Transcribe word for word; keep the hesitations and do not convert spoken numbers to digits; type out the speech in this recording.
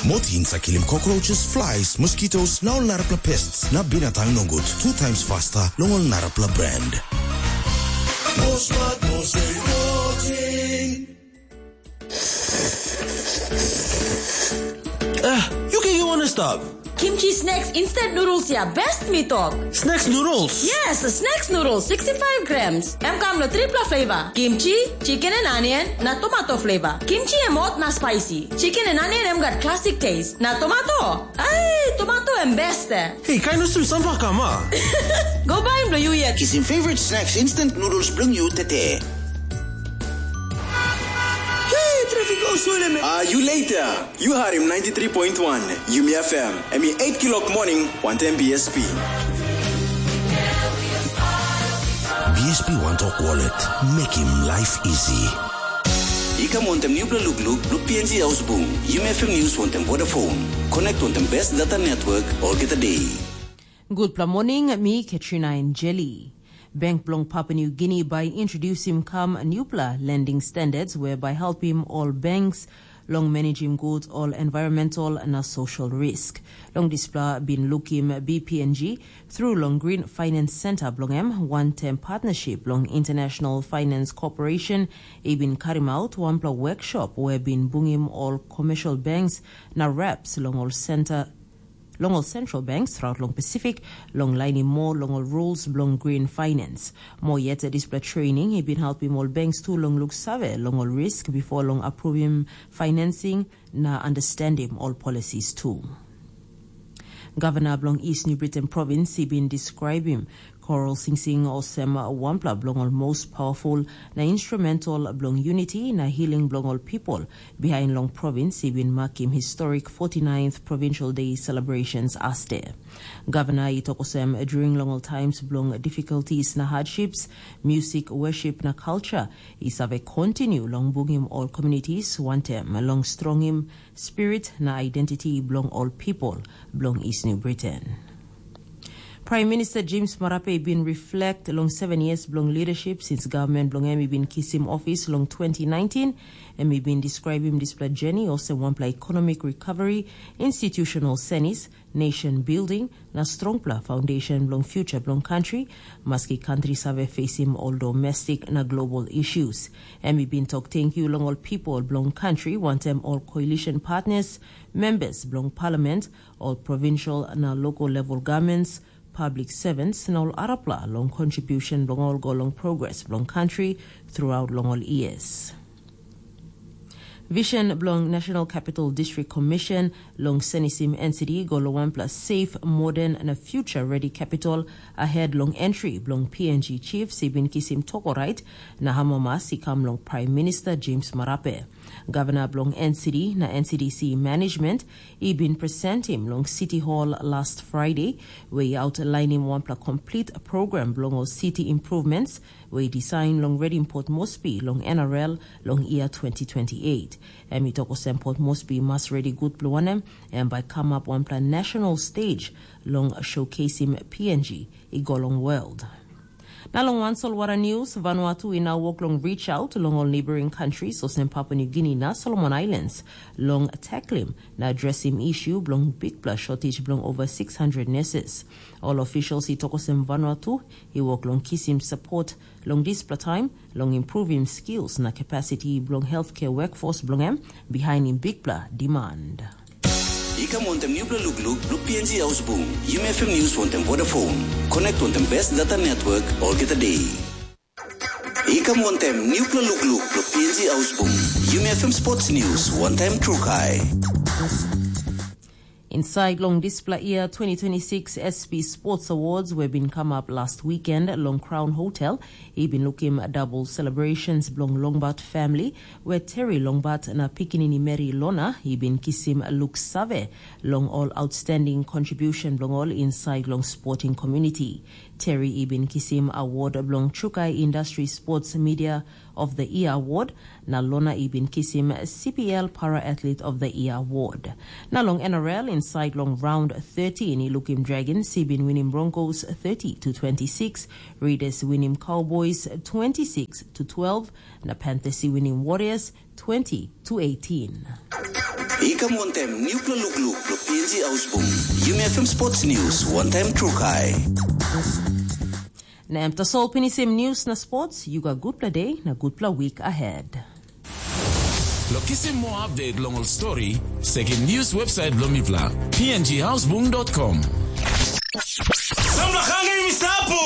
Mot i save kilim cockroaches, flies, mosquitoes, na ol narapela pests na binatang nogut two times faster long ol narapela brand. Mosmat Mosaic Protein. Ah, you can you wanna stop? Kimchi snacks instant noodles ya best mi tok. Snacks noodles? Yes, snacks noodles sixty-five grams. Em kam lo tripla flavor. Kimchi, chicken and onion, na tomato flavor. Kimchi em hot na spicy. Chicken and onion em gat classic taste. Na tomato? Ai, tomato em best eh. Hey, kain olsem sampah kam a? Go buy em lo you yet. Kisim favorite snacks instant noodles bilong you tete. Hey, traffic go slow me. Ah, you later. You heard him ninety-three point one Yumi F M. Em i eight kilok morning, one ten B S P. B S P One Talk Wallet. Make him life easy. I kam wantem nupela lukluk blo P N G Ausbung. Yumi F M News wantem Vodafone. Connect wantem best data network olgeta day. Gutpela morning, mi Katrina Enjeli. Bank bilong Papua New Guinea bai introdusim kam nupela lending standards we bai helpim ol banks long managim gut ol environmental na social risk. Long dispela bin lukim B P N G through long Green Finance Center bilong em, wantaim partnership long International Finance Corporation i bin karim out wanpela workshop we bin bungim ol commercial banks na reps long ol center long ol central banks throughout long Pacific, long lainim moa long ol rules bilong green finance. Moa yet, dispela training i bin helpim ol banks tu long luksave long ol risk bipo long apruvim financing na understandim ol policies tu. Gavana bilong East New Britain Province i bin describim Coral Sing Sing olsem wanpela bilong ol most powerful na instrumental bilong unity na healing bilong ol people, bihain long provins i bin makim historic forty-ninth Provincial Day celebrations aste. Gavana i tok olsem, during long ol times bilong difficulties na hardships, music, worship na culture i save continue long bungim ol communities wantem long strongim spirit na identity bilong ol people bilong East New Britain. Prime Minister James Marape bin reflect long seven years bilong leadership since government bilong em i bin kisim office long twenty nineteen. Em i bin describim dispela journey olsem wanpela economic recovery, institutional senis, nation building, na strongpela foundation bilong future bilong country, maski country save facing all domestic na global issues. Em i bin tok thank you long all people bilong country, wantem all coalition partners, members bilong parliament, all provincial na local level governments, public servants na ol arapela long contribution bilong ol go long progress bilong country throughout long ol years. Vision bilong National Capital District Commission long senisim N C D go long wanpela safe, modern na future ready capital ahead long entry bilong P N G chiefs i bin kisim tok orait na hamamas i kam long Prime Minister James Marape. Gavana bilong N C D na N C D C management i bin presentim long City Hall last Friday, we i outlainim wanpela complete program bilong ol city improvements we i design long redim Port Moresby long N R L long year twenty twenty-eight. Em i tok olsem Port Moresby mas redi gut bilong wanem, em bai kamap wanpela national stage long showcasing P N G i go long world. Na long wan solwara news, Vanuatu i nau wok long reach out long ol neighboring countries olsem Papua New Guinea na Solomon Islands long tacklim na addressing issue bilong bikpela shortage bilong over six hundred nurses. All officials i tok olsem Vanuatu i wok long kisim support long dispela time long improving skills na capacity bilong healthcare workforce bilong em behind in bikpela demand. I kam wantem nupela lukluk blo P N G Ausbung, Yumi F M News wantem Vodafone. Connect wantem best data network olgeta day. I kam wantem nupela lukluk blo P N G Ausbung, Yumi F M Sports News wantaim Trukai. Inside long dispela year twenty twenty-six S P Sports Awards we bin come up last weekend long Crown Hotel, i bin lukim double celebrations bilong Longbat family, where Terry Longbat na pikinini Mary Lona i bin kisim look save long all outstanding contribution bilong ol inside long sporting community. Terry i bin kisim award bilong Chukai Industry Sports Media of the Year Award, na Lona i bin kisim C P L Para Athlete of the Year Award. Na long N R L, inside long round thirteen, i lukim Dragons i bin winim Broncos thirty to twenty-six, Raiders winim Cowboys twenty-six to twelve, na Panthers i winim Warriors twenty to eighteen. I Kam wantaim nupela lukluk long P N G Ausbung. Yumi F M Sports News, wantaim Trukai. Na em tasol pinisim news na sports, you got gutpela day na gutpela week ahead. Lo kisim more update long ol story, sekim news website bilong mipela, P N G Ausbung dot com. Samla hangim i sapu!